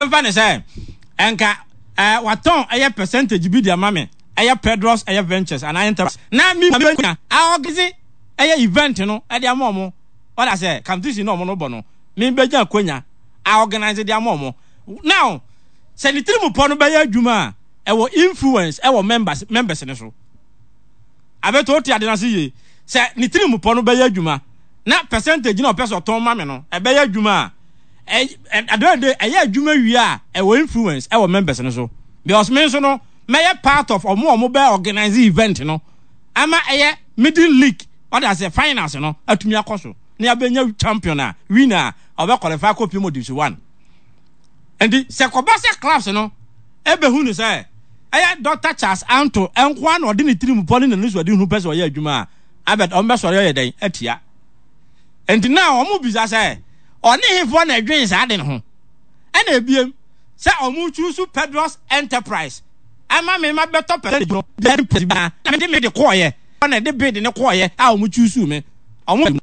Yɛmfa no sɛ nka eh, watɔn ɛyɛ percentage bi de ama me, ɛyɛ Pedros ɛyɛ Ventures anaa Enterprise, na me menya aorganise ɛyɛ event no de ama ɔmo, wate aseɛ, competition na ɔmo no bɔ no, me bɛnya akwanya aorganise de ama ɔmo. Now, sɛ ne tirim pɔ no bɛyɛ adwuma a, ɛwɔ influence ɛwɔ members, members no so. Abeto, wote ade no ase yie? Sɛ ne tirim pɔ no bɛyɛ adwuma, na percentage na ɔpɛ sɛ ɔtɔn ma me no, ɛbɛyɛ adwuma a, at the end of the day, ɛyɛ adwuma wie a, ɛwɔ influence ɛwɔ members no so. Because me nso no, mɛyɛ part of ɔmo a ɔmo bɛ organize event no, ama ɛyɛ middle league, ɔde aseɛ, finals no atumi akɔ so, na yɛabɛnya champion a, winner a, ɔbɛ qualify akɔ pm Division 1. Nti, sɛ kɔba sɛ clubs no ɛbɛhu no sɛ, ɛyɛ Doctor Charles Anto nkoa na ɔde ne tirim pɔ ne n'anisoadehunu pɛ sɛ ɔyɛ adwuma a, abɛ ɔmo bɛsɔre ɔyɛ dɛn atia. Nti na ɔmo bisa sɛ, ɔne hefoɔ na ɛdwen saa ade no ho? Ɛna ebiem, sɛ ɔmo choose Pedros Enterprise ama me ma bɛtɔ percentage no, deɛ ɛde na mede me de kɔɔyɛ, na ɛde bid ne kɔɔyɛ a ɔmo choose me. Ɔmo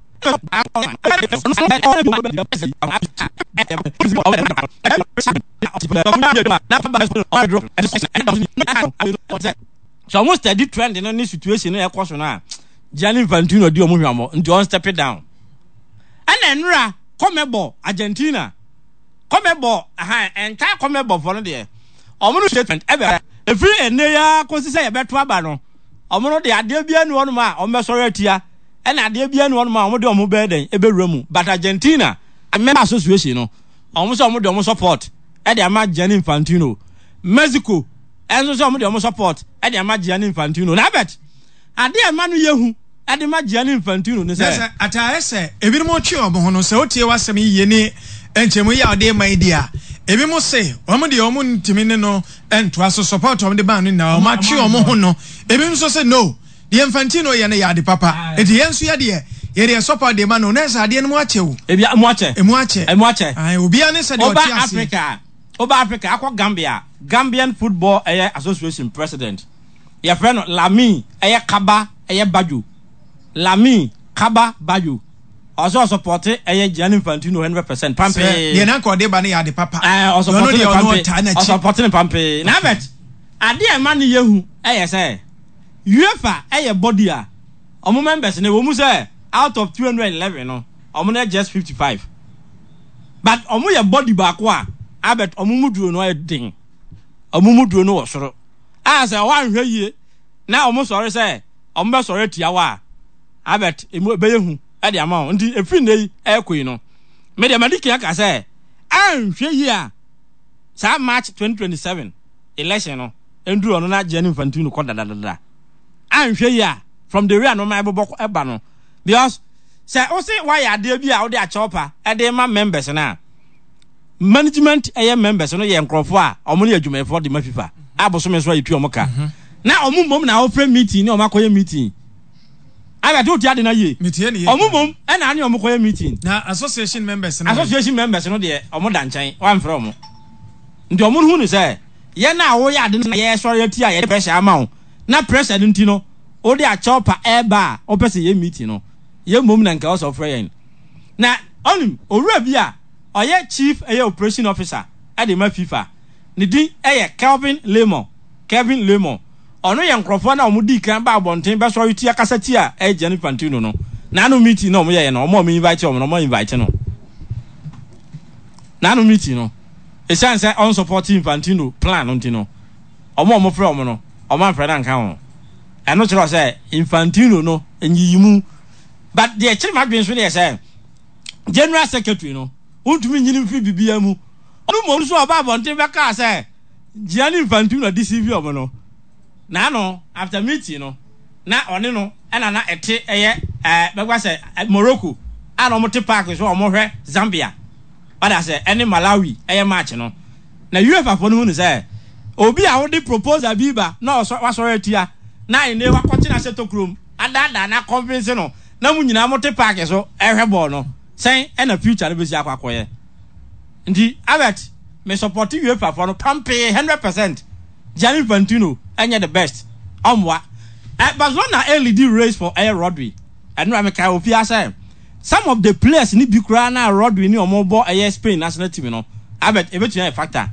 sɛ ɔmo steady trend no ne situation no ɛkɔ so no a, Gianni Infantino di ɔmo hwammɔ nti ɔn step down. Ɛna nnora kɔmɛbɔ Argentina kɔmɛbɔ aha entire kɔmɛbɔ fɔ no deɛ ɔmo no statement ɛbɛ efiri ɛnɛ yi ara kɔsi sɛ yɛbɛto aba no, ɔmo no deɛ adeɛ biara ni wɔnom a ɔmo bɛsɔre atia, ɛna adeɛ biara ni wɔnom a ɔmo de ɔmo bɛyɛ dɛn ɛbɛwura mu. But Argentina member association no, ɔmo sɛ ɔmo de ɔmo support ɛde ama Gianni Infantino. Mexico ɛnso sɛ ɔmo de ɔmo support ɛde ama Gianni Infantino. Na abɛt adeɛ a ɛma no yɛ hu ɛde ma Gianni Infantino ne sɛ. Na sɛ ataayɛ sɛ ebinom twe wɔn ho no, sɛ wotie w'asɛm yi yie ne nkyɛmu yi a ɔde rema yi di a, ebinom se wɔn deɛ wɔn ntumi ne no ntoa so, support wɔn de baa no nyinaa wɔn atwe wɔn ho no. Ebinom nso se no, deɛ Infantino yɛ no yɛ ade papa, eti yɛn nso yɛ deɛ yɛde yɛ support de ma no. Na ɛsɛ adeɛ no mu akyɛ o. Ebi mu akyɛ. Emu akyɛ. Emu akyɛ. Ayi obiara ne sɛ deɛ ɔte aseɛ. Oba Africa, oba Africa akɔ Gambia, Gambian Football ɛyɛ Association president. Yɛfrɛ no Lamin ɛyɛ Kaba ɛyɛ Badjo. Lamin Kaba Badjo. Ɔsɛ ɔsɔpɔte ɛyɛ Gianni Infantino 100% pampee. Sɛ deɛ nanka ɔde ba no yɛ ade papa. Ɛɛ ɔsɔpɔte ne pampee. Ɔsɔpɔte ne pampee. Na abɛt adeɛ a ɛma no yɛ hu ɛyɛ sɛ UEFA ɛyɛ body a ɔmo members no ɛwɔ mu sɛ out of 211 no ɔmo no yɛ just 55, but ɔmo yɛ body baako a abɛt ɔmo mu duro no ɛyɛ den. Ɔmo mu duro no wɔ soro. A sɛ wɔanhwɛ yie na wɔn sɔre sɛ wɔn bɛsɔre atia wo a, Albert, emu ɛbɛyɛ hu de ama wo. Nti ɛfiri nnɛ yi ɛrekɔ yi no, me deɛ madi kan aka sɛ anhwɛ yie a saa March 2027 election no nduru ɔno na Gianni Infantino kɔ dadadada. Anhwɛ yie a, from the way a nneɛma ɛbobɔ ɛba no, because sɛ wo se woayɛ adeɛ bi a wode akyɛw pa ɛde ma members no a, Management ɛyɛ members no yɛ nkorɔfoɔ a wɔn yɛ adwumayɛfoɔ de ma FIFA a bosome nso a yɛtua wɔn ka, na wɔn mmom na wɔfrɛ meeting ne wɔn akɔyɛ meeting. Albert, wotie ade no yie? Metie ne yie. Wɔn mmom ɛna ane wɔn kɔyɛ meeting. Na association members no? Association members no deɛ wɔn da nkyɛn, wɔamfrɛ wɔn. Nti wɔn hu no sɛ yɛn a woyɛ ade no na yɛsɔre atia, yɛde pressure ama wo, na pressure no nti no wode akyɛw pa ɛreba a wopɛ sɛ yɛ meeting no, yɛn mmom na nka ɛwɔ sɛ wɔfrɛ yɛn. Na ɔnim owura bi a ɔyɛ Chief ɛyɛ Operation Officer de ma FIFA. Ne din yɛ Kelvin Lemon, Kevin Lemon. Ɔno yɛ nkorɔfoɔ no a wɔn dii kan baa abɔnten bɛsɔre tia kasa tia ɛyɛ Gianni Infantino no. N'ano meeting na wɔn yɛeɛ no, wɔn a wɔn invite wɔn no, wɔn invite no. N'ano meeting no, ɛsiane sɛ ɔn support Infantino plan no nti no, wɔn a wɔfrɛ wɔn no, wɔn amfrɛ no anka ho. Ɛno kyerɛ sɛ Infantino no nyiyimu. But deɛ ɛkyere m'adwene nso no yɛ sɛ, General Secretary no, wontumi nyi no mfiri biribiara mu. Ɔno mmom nso a ɔbaa abɔnten bɛkaa sɛ Gianni Infantino deceive wɔn no, n'ano after meeting no, na ɔne no na na ɛte ɛyɛ ɛɛ bɛka sɛ Morocco a na wɔte park so a wɔhwɛ Zambia wada sɛ ɛne Malawi ɛyɛ match no. Na UEFA foɔ no hu no sɛ obi a wode proposal bi ba na ɔsɔ wasɔre atia na ɛnɛ wakɔtena ahyɛ tokurom adaadaa na convince no na mo nyinaa mote paake so ɛhwɛ bɔɔl no, sɛn ɛna future no bɛsi akɔ akɔyɛ? Nti Albert, me support UEFA foɔ no pampee 100%. Gianni Infantino ɛnyɛ the best, ɔmmoa. Eh, Barcelona ɛlidi race for ɛyɛ Rodri. Ɛnora mekae wɔ fie ha sɛ some of the players no bi koraa na Rodri ne ɔmo bɔ ɛyɛ Spain national team no, Albert, ɛbɛtumi ayɛ factor.